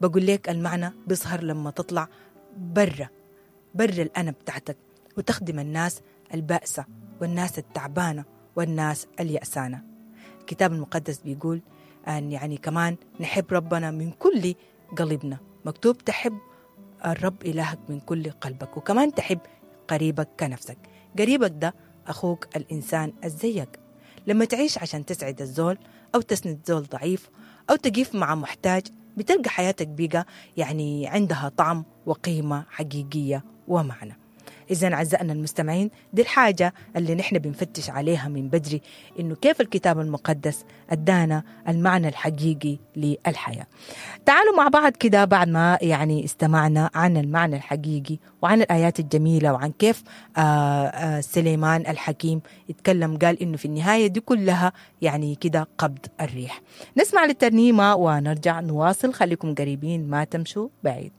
بقول لك المعنى بيظهر لما تطلع برا برا الأنا بتاعتك، وتخدم الناس البائسة والناس التعبانة والناس اليأسانة. الكتاب المقدس بيقول أن يعني كمان نحب ربنا من كل قلبنا، مكتوب تحب الرب إلهك من كل قلبك، وكمان تحب قريبك كنفسك. قريبك ده أخوك الإنسان الزيك. لما تعيش عشان تسعد الزول أو تسند زول ضعيف أو تقيف مع محتاج، بتلقى حياتك بقى يعني عندها طعم وقيمة حقيقية ومعنى. إذا أعزائنا المستمعين، دي الحاجة اللي نحن بنفتش عليها من بدري، إنه كيف الكتاب المقدس أدانا المعنى الحقيقي للحياة. تعالوا مع بعض كده بعد ما يعني استمعنا عن المعنى الحقيقي وعن الآيات الجميلة وعن كيف سليمان الحكيم اتكلم، قال إنه في النهاية دي كلها يعني كده قبض الريح. نسمع للترنيمة ونرجع نواصل، خليكم قريبين ما تمشوا بعيد.